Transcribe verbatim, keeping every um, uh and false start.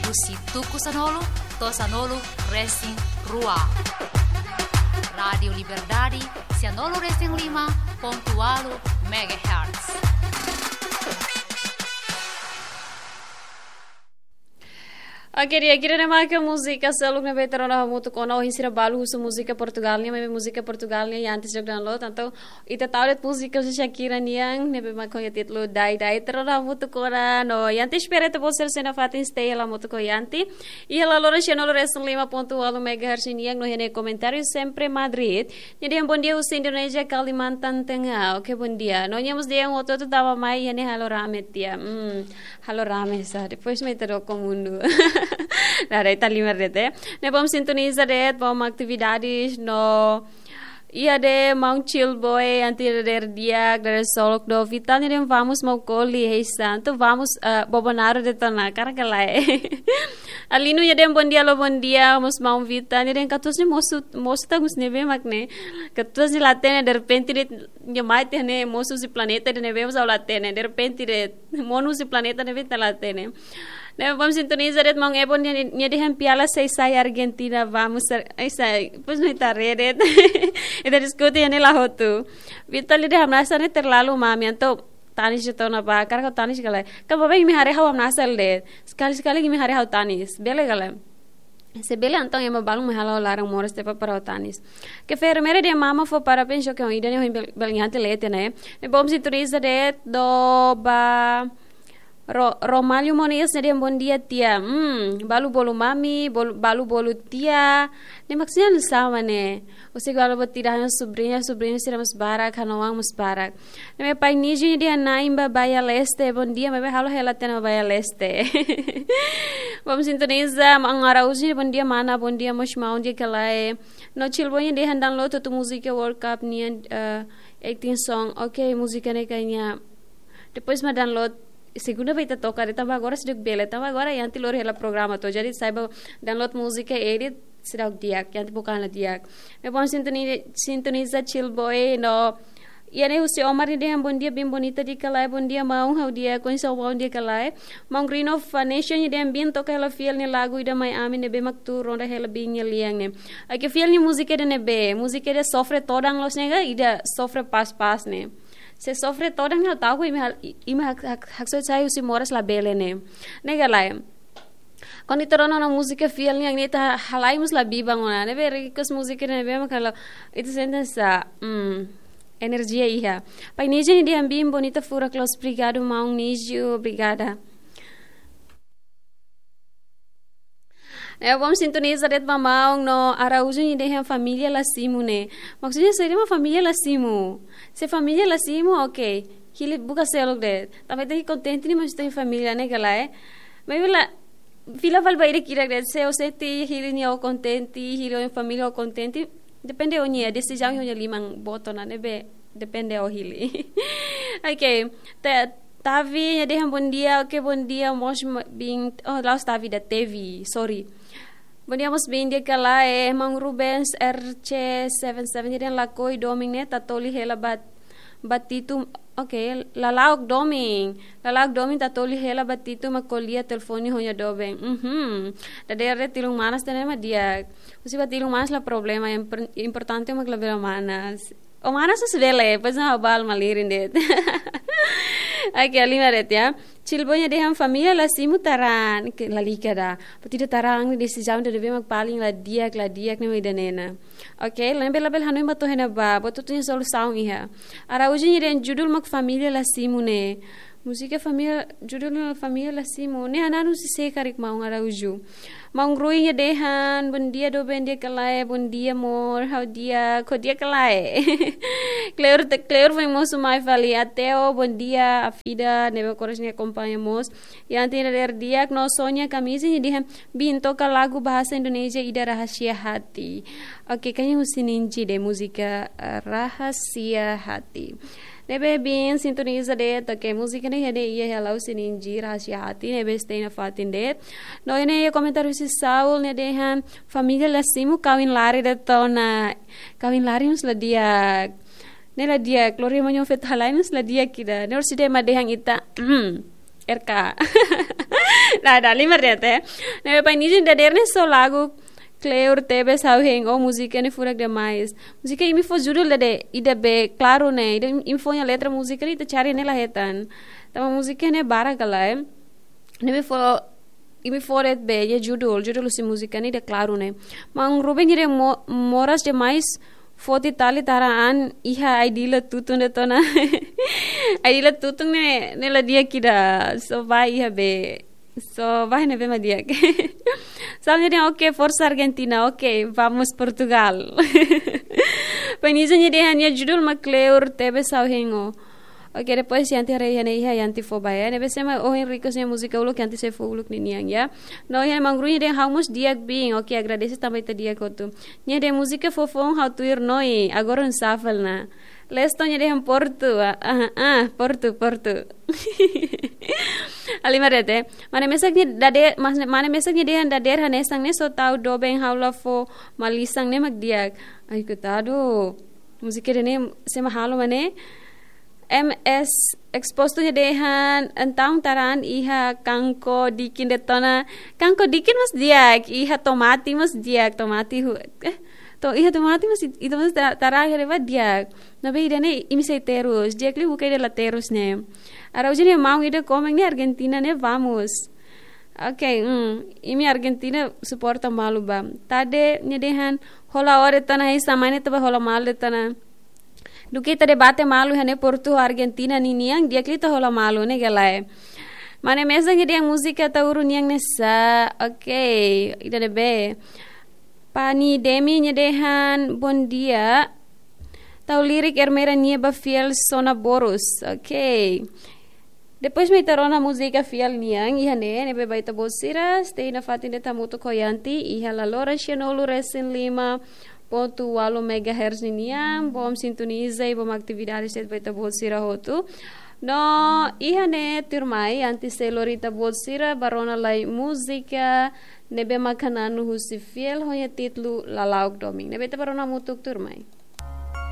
Husi tuku sanulu to'o sanulu resin rua. Rádiu Liberdade, sanulu resin lima pontu ualu megahertz. Oke, di'ak, ida-ne'e maka múzika seluk ne'ebé ita rona hamutuk ona, ohin sira balu husu múzika Portugál nian, maibé múzika Portugál nian iha antes de download, entaun ita tau de'it múzika husi Shakira nian, ne'ebé mak ho títulu Dai Dai, ita rona hamutuk ona, no iha antes espera ita-boot sira sei nafatin stay hela hamutuk ho ita. Iha laloran sanulu resin lima pontu ualu megahertz nian, no iha ne'e komentáriu Sempre Madrid, nia dehan bom dia husi Indonézia, Kalimantan Tengah. Oke, bom dia. No nia mós dehan hotu-hotu tama mai iha ne'e halo rame tiha. Hmm, halo rame sá. Depois mai ita doko mundu. Nah, daí ita halimar de'it, eh. Ne'e bom sintoniza de'it, bom atividades, no iha de'it maun Chill Boy, anti dader di'ak, dader Solok do Vital, nia dehan vamos Maukoli, hei santu, vamos, eh, Bobonaro de'it ona, karik ka lae. Alinu nia dehan bom dia, alô, bom dia, mós maun Vital, nia dehan katuas ne'e mosu, mosu tanggus ne'ebé mak ne'e. Katuas ne'e la hatene, derrepente de'it nia mai tiha ne'e, mosu husi planeta ida ne'ebé mós ha'u la hatene, derrepente de'it monu husi planeta ne'ebé ita la hatene. Ne'e bom sintoniza de'it maun Ebon nia, nia dehan piala sei sai Argentina, vamos, Ar-, ai sai, pois não está redet. Ita diskute iha ne'e la hotu. Vital nia dehan hamnasa ne'e terlalu mami, entaun tanis de'it ona ba, karik ha'u tanis ka lae. Ka ba bem imi haree ha'u hamnasa de'it. Sekali-sekali imi haree ha'u tanis. Bele ka lae. Se bele entaun ema balun mai halo laran moras tiha para ha'u tanis. Ke enfermeira dehan mama fó parabéns, oke, ida-ne'e ohin bel-, belgiante lete ne'e. Ne'e bom sintoniza de'it, do ba Ro-, Romalho Moniz nia dehan bom dia tia. Hmm, balu bolu mami, bolu, balu bolu tia. Ne'e maksudnya nu'usá ne'e. Husi balu bolu tia, ha'u-nia subriña, subriñu sira mós barak, ha'u-nia oan mós barak. Ne'ebé pai Niji nia dehan na'in ba Baia Leste, bom dia, maibé ha'u la hela tiha ona Baia Leste. Bom sintoniza, maun Araújo nia dehan bom dia mana, bom dia mós maun, di'ak ka lae. No Chill Boy nia dehan download hotu múzika World Cup nian, eh, acting song. Oke, múzika ne'e kayaknya depois mak download, segunda ba ita toka de'it, tanba agora seidauk bele, tanba agora iha ne'e lori hela programa to'o. Jadi saiba download múzika, edit, seidauk di'ak, iha ne'e bukan la di'ak. Ne'e bom sintoni-, sintoniza Chill Boy, no iha ne'e husi Omar nia dehan bom dia biin bonita, di'ak ka lae, bom dia maun, ha'u di'ak, kondisaun maun di'ak ka lae. Maun Rino Vanessa nia dehan biin toka hela Fiel nia lagu ida mai ami ne'ebé mak tuur ronda hela biin nia lian ne'e. Oke, Fiel nia múzika ida ne'ebé, múzika ida sofre todan loos ne'e ka, ida sofre pas-pas ne'e. Se sofre todan ne'e ha'u ta'uk imi hal-, imi hak-, hak-, haksoit sai husi moras labele ne'e. Ne'e ka lae. Kuandu ita rona ona múzika Fiel nian ne'e ita halai mós la biban ona. Ne'ebé request múzika ne'ebé mak halo ita sente sá, hmm, enerjia iha. Pai Niji nia dehan biin bonita furak loos, obrigadu maun Niji, obrigada. Ne'e bom sintoniza de'it ba maun, no Araújo nia dehan família la simu ne'e. Maksudnya saida mak família la simu? Se família la simu, oke. Hili buka seluk de'it. Tanba ita kontente ne'e maksudnya família ne'e ka lae. Maibé la fila fali ba ida ki'ik de'it. Se ó sente hili nia ó kontente, hili ó família ó kontente, depende ó-nia desizaun, ó-nia liman boot ona, ne'ebé depende ó hili. Oke, Ta-, Tavi nia dehan bom dia, oke, bom dia mós ma-, biin, oh, la'ós Tavi, ida Tevi, sorry. Bom dia mós biin, di'ak ka lae, maun Rubens R C seven seven nia dehan lakohi domin ne'e Tatoli hela ba, ba Titu, oke, lala'ok domin, lala'ok domin Tatoli hela ba Titu mak ko'alia telefone ho nia doben. Mhm. Dadeer de'it tilun manas tiha ne'e mak di'ak. Husi ba tilun manas la problema, yang per-, importante mak labele manas. Ó manas mós bele, pois não, ha'u bá halo malirin de'it. Oke, halimar de'it ya. Chill Boy nia dehan família la simu tarán, ke lalika ida. Buat ida tarán, desizaun ida ne'ebé mak paling la di'ak, la di'ak ne'e mak ida-ne'e ona. Oke, la ne'ebé labele hanoin ba to'o iha ne'ebá, buat hotu nia solusaun iha. Araújo nia dehan judul mak família la simu ne'e. Múzika família, judul família la simu. Ne'e hananu husi sé karik maun Araújo? Maun Rui nia dehan, bom dia doben, di'ak ka lae, bom dia amor, ha'u di'ak, ó di'ak ka lae. Kleur te-, Kleur foin mosu mai fali, Ateo, bom dia, Afida, ne'ebé oras ne'e akompaña mós. Iha ne'e ita haree di'ak, no Sonia Kamisi nia dehan, biin toka lagu bahasa Indonesia ida Rahasia Hati. Oke, kayaknya husi Ninji de'it múzika, eh, Rahasia Hati. Ne'ebé biin sintoniza de'it, oke, múzika ne'e iha ne'e iha hela husi Ninji Rahasia Hati, ne'ebé stay nafatin de'it. No iha ne'e iha komentáriu husi Saul nia dehan, família la simu kawin lari de'it ona. Kawin lari mós la di'ak. Ne'e la di'ak, lori ema nia oan feto halai mós la di'ak ida. Ne'e orsida ema dehan ita, hmm, R K. Dah, dah, lima ret, eh. Ne'ebé pai nia nia dadeer ne'e só lagu Kleur Tebes Ha'u Hein, oh, múzika ne'e furak demais. Múzika imi fó judul ida-ne'e, ida be klaru ne'e, ida imi fó nia letra múzika ne'e ita cari ne'e la hetan. Tanba múzika ne'e barak ka lae. Ne'ebé fó, imi fó de'it be, nia judul, judul husi múzika ne'e ida klaru ne'e. Maun Ruben nia dehan mo-, moras demais, foti tali tara an iha ai-dila tutun de'it ona. Ai-dila tutun ne'e, ne'e la di'ak ida, só ba iha be. Só ba ne'ebé mak di'ak. Sal nia dehan, "Oke, forsa Argentina, oke, vamos Portugal." Pai nia nia dehan nia judul mak Kleur Tebes Ha'u Hein, oh. Oke, depois yam ita haree iha ne'e iha yam ita fó ba, ya. Ne'ebé se mak ohin request nia múzika uluk yam ita sei fó uluk ninian, ya. No iha ne'e maun Ruben nia dehan ha'u mós di'ak biin. Oke, agradese tanba ita di'ak hotu. Nia dehan múzika fofoun ha'u tuir noi, agora un safal na. Leston nia dehan Portu, ah, ah, ah, Portu, Portu. Lima ret, eh. Mane mesak nia dade-, mas-, mane mesak nia dehan dadeer hanesan ne'e só tau doben ha'u la fó malisan ne'e mak di'ak. Ai, koitadu. Múzika ida-ne'e se mak halo mak ne'e. M S Exposto nia dehan entaun tara an iha kanko dikin de'it ona. Kanko dikin mós di'ak, iha tomate mós di'ak, tomate hu-, eh, to-, iha tomate mós it-, ita mós ta-, tara iha ne'ebá di'ak. Ne'ebé ida-ne'e imi sei terus, di'ak liu buka ida la terus ne'e. Araújo nia maun ida komen ne'e Argentina ne'e vamos. Oke, hmm, imi Argentina suporta malu ba. Tade nia dehan hola ó de'it ona, hanesan mai ne'e ita bá hola malu de'it ona. Duké ita debate malu iha ne'e Portu Argentina ninian, di'ak liu ita hola malu ne'e ka lae. Mane mesak nia dehan múzika Ataúru nian ne'e sá. Oke, ida-ne'ebé. Pani Demi nia dehan, bom dia. Tau lirik Ermera nia ba Fiel Sona Borus. Oke. Depois mak ita rona múzika Fiel nian, iha ne'e, ne'ebé ba ita-boot sira, stay nafatin de'it hamutuk ho yam ita, iha La Lora sianulu resin lima pontu ualu megahertz ninian, bom sintoniza i bom atividade de'it ba ita-boot sira hotu. No, iha ne'e tuirmai, antes sei lori ita-boot sira, bá rona lai múzika, ne'ebé mak hananu husi Fiel, ho nia títulu Lala'ok Domin. Ne'ebé ita bá rona hamutuk tuirmai.